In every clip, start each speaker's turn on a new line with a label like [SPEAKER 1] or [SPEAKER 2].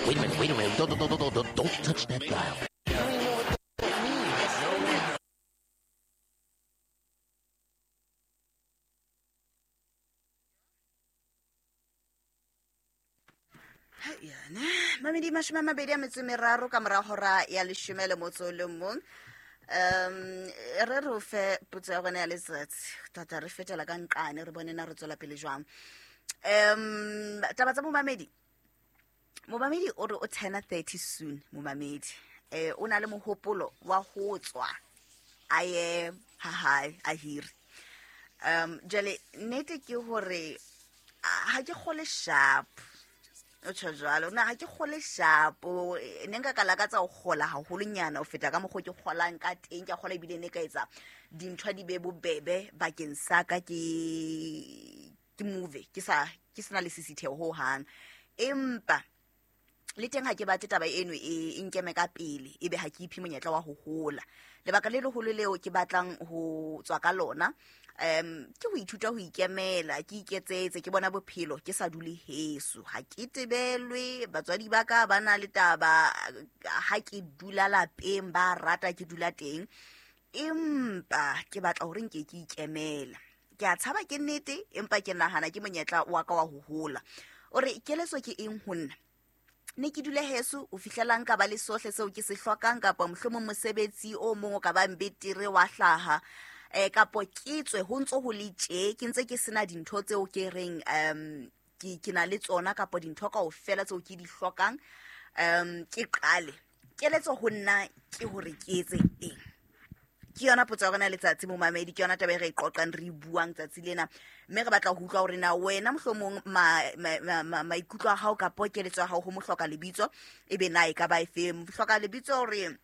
[SPEAKER 1] Wait a minute, wait a minute. Don't touch that dial.
[SPEAKER 2] Yana mamedi 23 ka mora hora ya 11. Re re o fe potso ya gona ya letsatsi tata re fetela ka nqane re bone na re tswela pele jwang. Taba tsa momamedi, momamedi o re o turna 30 soon. Momamedi o na le mohopolo wa ho tswa a ye ha hae a hire. Jwale nnete ke hore ha ke kgole sharp, o tjho jwalo na ha ke kgole sharp, ne nka ka lakatsa ho kgola haholonyana ho feta ka mokgwa ke kgolang ka teng. Ke a kgola ebile ne ka etsa dintho di be bobebe bakeng sa ka, ke move ke sa ke sena le sisitheho ho hang. Empa le teng ha ke batle taba eno e nkeme ka pele, ebe ha ke iphe monyetla wa ho hola. Lebaka le leholo leo ke batlang ho tswa ka lona ke ho ithuta ho ikemela, ke iketsetse, ke bona bophelo ke sa dule heso. Ha ke tebelwe, batswadi ba ka ba na le taba ha ke dula lapeng, ba rata ke dula teng, empa ke batla hore nke ke ikemela. Ke a tshaba ke nnete, empa ke nahana ke monyetla wa ka wa ho hola. O re keletso ke eng ho nna? Ne ke dule heso o fihlela nka ba le sohle seo ke se hlokang, kapa mohlomong mosebetsi o mong o ka bang betere wa hlaha, kapo ke tswe ho ntso ho le tje, ke ntse ke sena dintho tseo ke reng ke na le tsona, kapa dintho kaofela tseo ke di hlokang, ke qale. Keletso ho nna ke hore ke etse eng? Ke yona potso ya rona letsatsi momamedi, ke yona taba e re e qoqang, re e buang tsatsi lena, mme re batla ho utlwa hore na wena mohlomong maikutlo a hao kapo keletso ya hao ho mohloka lebitso e be na e ka ba efe. Mohloka lebitso hore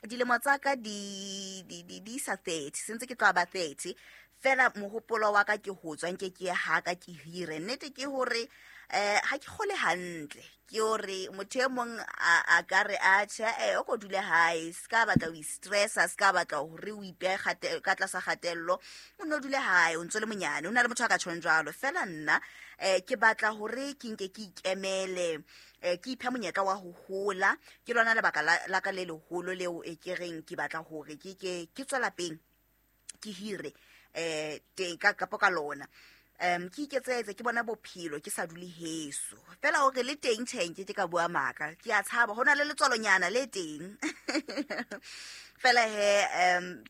[SPEAKER 2] dilemo tsa ka di sa 30, sentse ke tloha ba 30 fela, mohopolo wa ka ke ho tswa nke ke ye ha ka ke hire. Nnete ke hore ha ke kgole hantle, ke hore motho e mong a ka re atjhe, o ko dule hae, se ka batla ho i-stressa, se ka batla hore o ipehe ka tlasa kgatello, o nno dule hae, o ntso le monyane, o na le motho a ka tjhong jwalo. Fela nna ke batla hore ke nke ke ikemele, ke iphe monyetla wa ho hola. Ke lona lebaka la ka le leholo leo e ke reng ke batla hore ke ke tswe lapeng, ke hire teng ka kapo ka lona. Ke iketsetse, ke bona bophelo ke sa dule heso. Fela hore le teng tjhe, nke ke ka bua maka, ke a tshaba, ho na le letswalonyana le teng. Fela he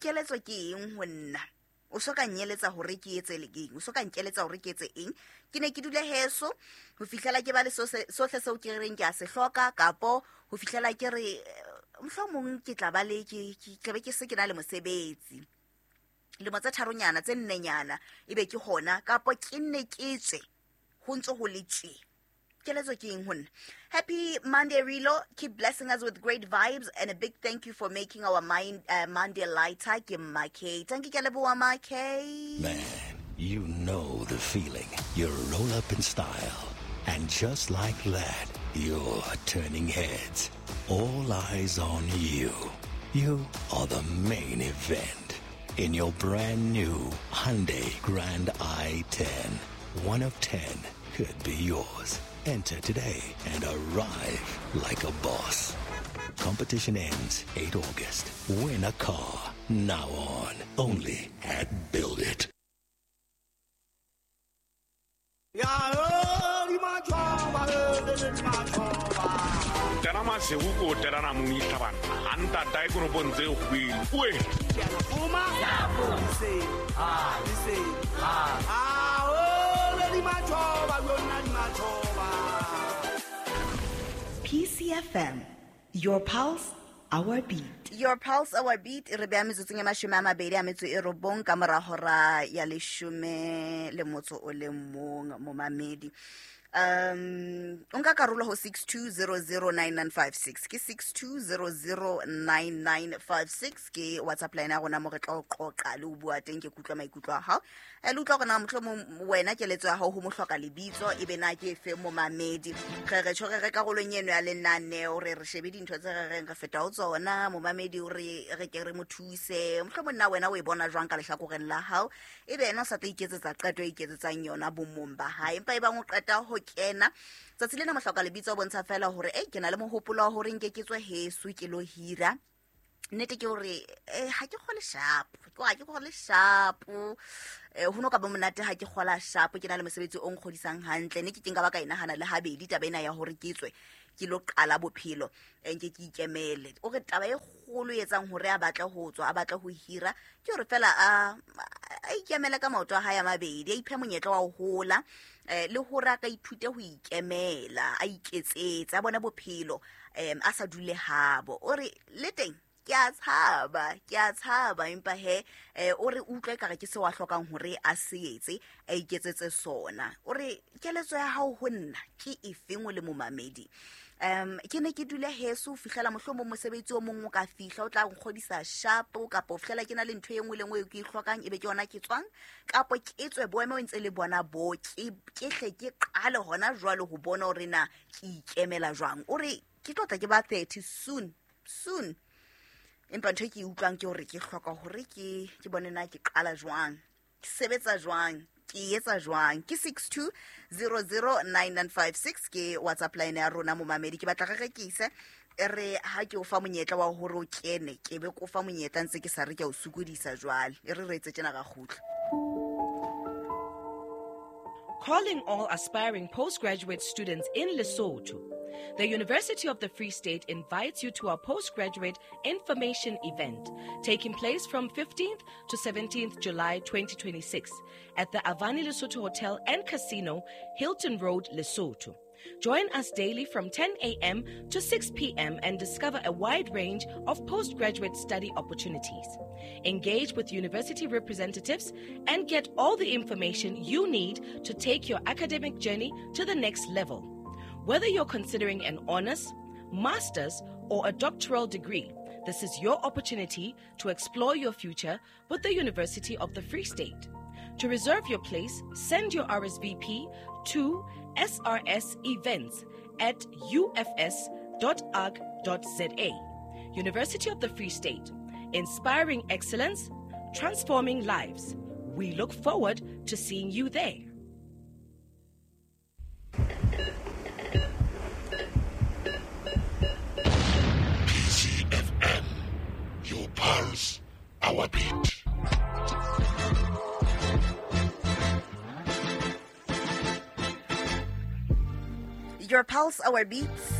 [SPEAKER 2] keletso ke eng ho nna? O so ka nyeletsa hore ke etse le eng? O so ka nkeletsa hore ke etse eng? Ke ne ke dule heso ho fihlela ke ba le sohle seo ke reng ke a se hloka, kapo ho fihlela ke re mohlomong ke tla ba le ke tlabe ke se ke na le mosebetsi lemo tse tharonyana tse nnenyana, ebe ke hona, kapo ke nne ke tswe ho ntso ho le tje. Keletso ke eng ho nna? Happy Monday, Rilo. Keep blessing us with great vibes and a big thank you for making our mind, Monday lighter. Ke Makay. Thank you, ke leboha Makay.
[SPEAKER 1] Man, you know the feeling. You roll up in style, and just like that, you're turning heads. All eyes on you. You are the main event. In your brand new Hyundai Grand i10, 1 of 10 could be yours. Enter today and arrive like a boss. Competition ends 8 August. Win a car now on only at Build It.
[SPEAKER 2] PCFM, your pulse, our beat. Your pulse, our beat. Re beha metsotsong e 29 ka mora hora ya 11 momamedi. O nka karolo ho 62009956, ke 62009956 ke WhatsApp line ya rona mo re tla o qoqa le o bua teng, ke kutlwa maikutlo a hao. Le utlwa hore na mohlomong wena keletso ya hao ho mohloka lebitso e be na ke efe momamedi. Re re tjho re re karolong eno ya lenaneo, re re shebe dintho tse re reng re feta ho tsona, momamedi o re re ke re mo thuse. Mohlomong na wena o e bona jwang ka lehlakoreng la hao, ebe yena o sa tla iketsetsa qeto e iketsetsang yona bomong ba hae, empa e bang o qeta ho kena. Tsatsi lena mohloka lebitso o bontsha fela hore e ke na le mohopolo wa hore nke ke tswe heso ke lo hira. Nnete ke hore ha ke kgole sharp, ke ha ke kgole sharp. Ho no ka ba monate ha ke kgola sharp, ke na le mosebetsi o nkgodisang hantle. Ne ke ke nka ba ka e nahana le habedi taba ena ya hore ke tswe ke lo qala bophelo, nke ke ikemele. O re taba e kgolo e etsang hore a batle ho tswa, a batle ho hira, ke hore fela a ikemele ka maoto a hae a mabedi, a iphe monyetla wa ho hola, le hore a ka ithute ho ikemela, a iketsetse, a bone bophelo, a sa dule habo. O re le teng ke a tshaba, ke a tshaba, empa he, o re utlwe ekare ke seo a hlokang hore a se etse, a iketsetse sona. O re keletso ya hao ho nna ke efeng o le momamedi? Ke ne ke dule heso ho fihlela mohlomong mosebetsi o mong o ka fihla o tla nkgodisa sharp, kapa ho fihlela ke na le ntho e nngwe le nngwe eo ke e hlokang, ebe ke yona ke tswang, kapa ke tswe boemo ntse le bona bo, ke hle ke qale hona jwale ho bona hore na ke ikemela jwang. O re ke tlo tla ke ba 30 soon, soon. Empa ntho e ke e utlwang ke hore ke hloka hore ke bone na ke qala jwang, ke sebetsa jwang, ke etsa jwang. Ke 62009956 ke WhatsApp line ya rona momamedi. Ke batla re rekise, e re ha ke o fa monyetla wa hore o kene, ke be ke o fa monyetla ntse ke sa re ke a o sokodisa jwale. E re re etse tjena ra kgutla.
[SPEAKER 3] Calling all aspiring postgraduate students in Lesotho. The University of the Free State invites you to our postgraduate information event taking place from 15th to 17th July 2026 at the Avani Lesotho Hotel and Casino, Hilton Road, Lesotho. Join us daily from 10 a.m. to 6 p.m. and discover a wide range of postgraduate study opportunities. Engage with university representatives and get all the information you need to take your academic journey to the next level. Whether you're considering an honors, master's, or a doctoral degree, this is your opportunity to explore your future with the University of the Free State. To reserve your place, send your RSVP to srsevents@ufs.org.za. University of the Free State, inspiring excellence, transforming lives. We look forward to seeing you there.
[SPEAKER 4] PCFM, your pulse, our beat.
[SPEAKER 2] Your pulse, our beats.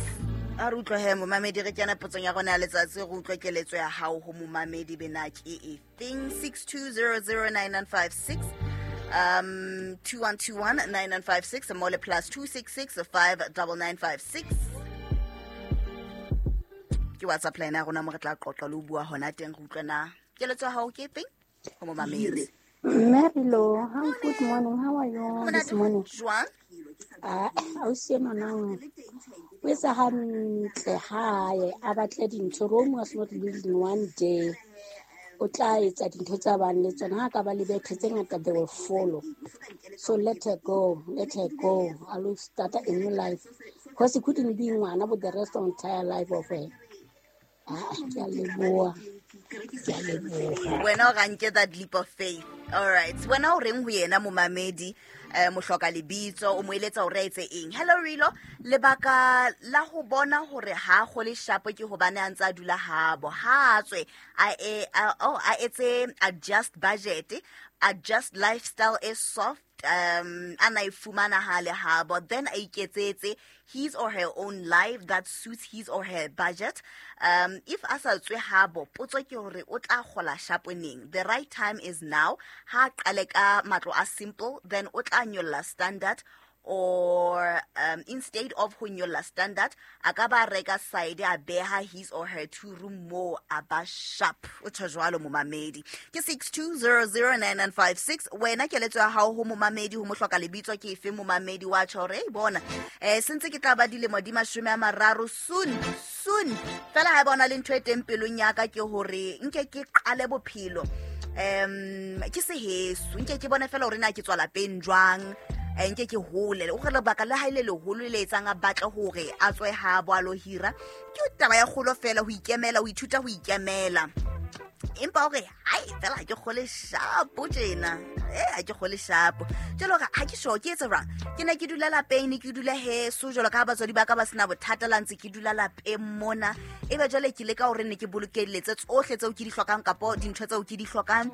[SPEAKER 2] A re utlwe he momamedi, re kena potsong ya rona ya letsatsi, re utlwe keletso ya hao ho momamedi bena ke efeng? 62009956, 21219956, mole +266 59956. Ke WhatsApp line ya rona mo re tla qoqa le ho bua hona teng, re utlwe na keletso ya hao ke efeng ho momamedi.
[SPEAKER 5] Mary Lo, how good morning. How are you this
[SPEAKER 2] Monate.
[SPEAKER 5] morning?
[SPEAKER 2] Jwang?
[SPEAKER 5] Ah, ausi enwa nang o etsa hantle hae, a batle dintho. Rome was not built in one day. O tla etsa dintho tsa bang le tsona, ha ka ba le bethe tse ngata, they will follow. So let her go, let her go. I will start a new life. Because he couldn't be ngwana with the rest of entire life of her. Ah, ke a leboha. Ke a leboha.
[SPEAKER 2] Wena o ranke that leap of faith. All right. Wena o reng ho yena momamedi, mohloka lebitso, o mo eletsa hore a etse eng? Hello Rilo, lebaka la ho bona hore ha kgole shapo ke hobane a ntse a dula habo. Ha a tswe, a etse adjust budget, adjust lifestyle e soft, a na e fumana ha le habo, then a iketsetse his or her own life that suits his or her budget. If a sa tswe habo, potso ke hore o tla kgola shapo neng? The right time is now. Ha qale ka matlo a simple, then o tla nyolla standard, or instead of ho nyolla standard, a ka ba reka side a beha his or her two room mo a ba sharp. O tjho jwalo momamedi. Ke 62009956. Wena keletso ya hao ho momamedi, ho mohloka lebitso ke efe momamedi wa tjho hore, hey, bona, sentse ke tla ba dilemo di 30 soon, soon. Fela ha bona le ntho e teng pelong ya ka ke hore nke ke qale bophelo. Ke seheso, nke ke bone fela hore na ke tswa lapeng jwang, nke ke hole. O re lebaka le hae le leholo le etsang a batle hore a tswe ha bo a lo hira, ke taba ya kgolo fela, ho ikemela, ho ithuta ho ikemela. Empa o re hai fela ha ke kgole shapo tjena. Ha ke kgole shapo. Jwale hore ha ke sure ke etse jwang. Ke ne ke dula lapeng, ne ke dula heso jwalo ka ha batswadi ba ka ba sena bothata la ntse ke dula lapeng mona. Ebe jwale ke leka hore ne ke bolokelletse tsohle tseo ke di hlokang kapo dintho tseo ke di hlokang.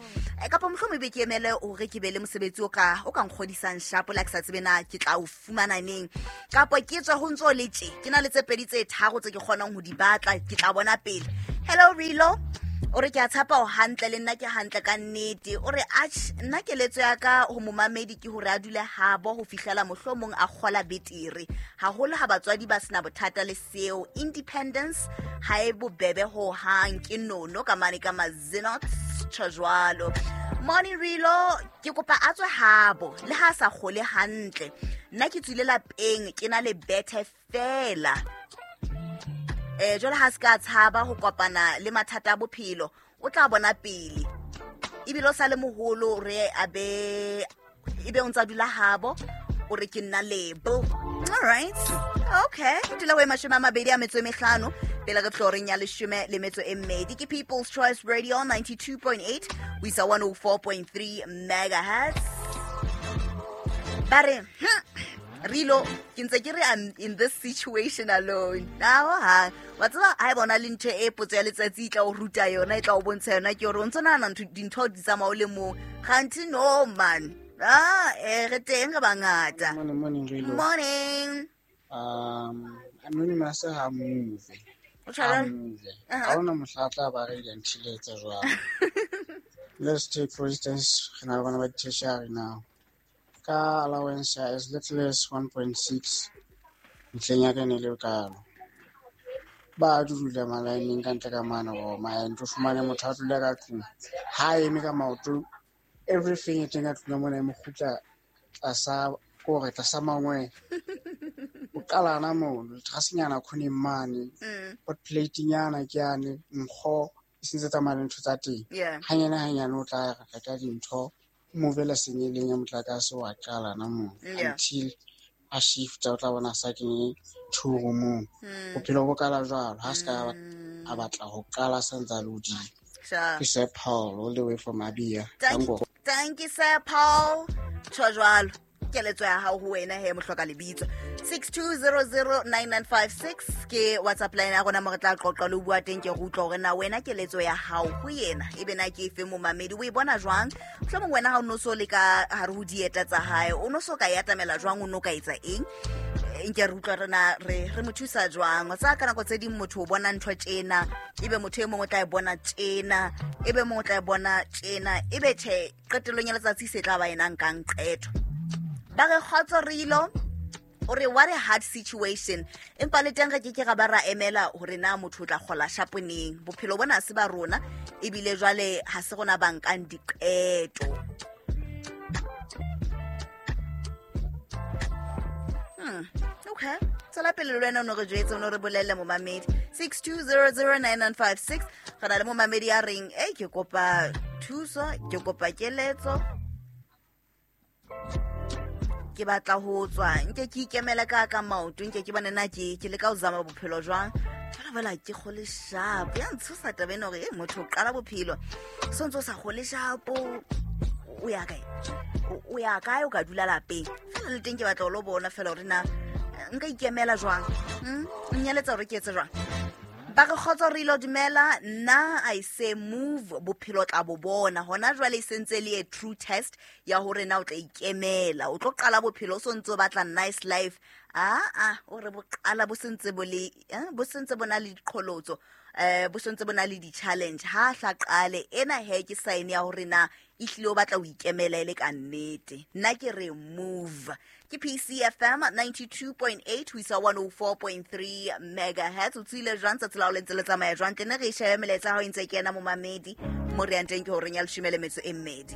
[SPEAKER 2] Kapo mohlomong ebe ke emele hore ke be le mosebetsi o ka nkgodisang shapo la ke sa tsebe na ke tla o fumana neng. Kapo ke tswe ho ntso le tje. Ke na le tse pedi tse tharo tse ke kgonang ho di batla, ke tla bona pele. Hello Rilo. O re ke a tshepa o hantle le nna ke hantle ka nnete. O re atjhe nna keletso ya ka ho momamedi ke hore a dule habo ho fihlela mohlomong a kgola betere. Haholo ha batswadi ba sena bothata le seo. Independence ha e bobebe ho hang, ke nono ka mane ka Mazenot tjho jwalo. Morning Rilo, ke kopa a tswe habo le ha sa kgole hantle. Nna ke tswile lapeng ke na le bethe fela. Jwale ha se ka tshaba ho kopana le mathata a bophelo, o tla bona pele. Ebile o sa le moholo re a be ebe o ntsa dula habo, o re ke nna lebo. All right. Okay. Dula ho 25 pele re floreng ya 12. Ke People's Choice Radio 92.8 ho isa 104.3 megahertz. Ba re Rilo, ke ntse ke re I'm in this situation alone. Now ha wa tseba ha e bona le ntho e potso ya letsatsi e tla o ruta yona, e tla o bontsha yona, ke hore o ntso nahana dintho di tsamaya o le mong. Kganthi no man. Re teng re bangata.
[SPEAKER 6] Morning, Rilo.
[SPEAKER 2] Morning.
[SPEAKER 6] Anonymous ha move.
[SPEAKER 2] O tshwara?
[SPEAKER 6] Ha ona mohla tla ba re until etsa jwang. Let's take for instance, re na le bana ba tertiary now. Ka allowance as little as 1.6 ntlheng ya ka ne le kalo. Ba dula malaeneng ka ntle ka mane go maento fumane motho a dula ka tlung. Ha eme ka maoto, everything e teng ka tlung mona e mo kgutla tlasa kore tlasa mangwe. O qalana mono, trasenyana khoneng mane. Hot plate nyana ke yane, nkgo e sentse tsamaya le ntho tsa teng. Hanyane o tla reka dintho. Movela senyeleng ya motlakase wa qala na mo until a shift o tla bona sa kenye two roomong. Bophelo bo kala jwalo ha se ka a batla ho qala sa ntsa le hodimo. Ke Sir Paul all the way from Abia.
[SPEAKER 2] Thank you Sir Paul. Tjho jwalo. Keletso ya hao ho wena he mohloka lebitso. 62009956 ke WhatsApp line ya rona mo re tla qoqa le bua teng ke re utlwa hore na wena keletso ya hao ho yena ebe na ke efe momamedi o e bona jwang. Mohlomong wena ha o no so le ka hare ho dieta tsa hae, o no so ka e atamela jwang, o no ka etsa eng? Nke re utlwa rena re mo thusa jwang. Tsa ka nako tse ding motho o bona ntho tjena, ebe motho e mongwe o tla e bona tjena, ebe mongwe o tla e bona tjena, ebe tjhe qetellong ya letsatsi se tla ba ena nkang qeto. Ba re kgotso Rilo, o re what a hard situation. Empa le teng re ke ke ra ba ra emela hore na motho o tla kgola shapo neng. Bophelo bona se ba rona ebile jwale ha se rona ba nkang diqeto. Okay. Tswela pele le wena o no re jwetse, o no re bolelle momamedi. 62009956. Re na le momamedi ya reng, ke kopa thuso, ke kopa keletso. Ke batla ho tswa, nke ke ikemele ka maoto, nke ke bone na ke leka ho zama bophelo jwang. Fela ke kgole shapo. Ya ntshosa taba ena hore motho o qala bophelo so ntso sa kgole shapo, o ya kae? O ya kae o ka dula lapeng? Fela le teng ke batla ho lo bona fela hore na nka ikemela jwang. Nnyeletsa hore ke etse jwang. Ba re kgotso Rilo, dumela. Nna I say move, bophelo tla bo bona. Hona jwale e sentse le a true test ya hore na o tla ikemela. O tlo qala bophelo o so ntso batla nice life. O re bo qala bo sentse bo le, bo sentse bona le diqholotso, bo sentse bona le di-challenge. Ha hla qale ena he ke sign ya hore na ehlile o batla ho ikemela ele ka nnete. Nna ke re move. Ke PCFM 92.8 ho isa 104.3 megahertz. O tswile jwang tsatsi la ho le ntse le tsamaya jwang? Tle ne re shebe melaetsa ha o ntse kena momamedi mo re yang teng ke horeng ya 12.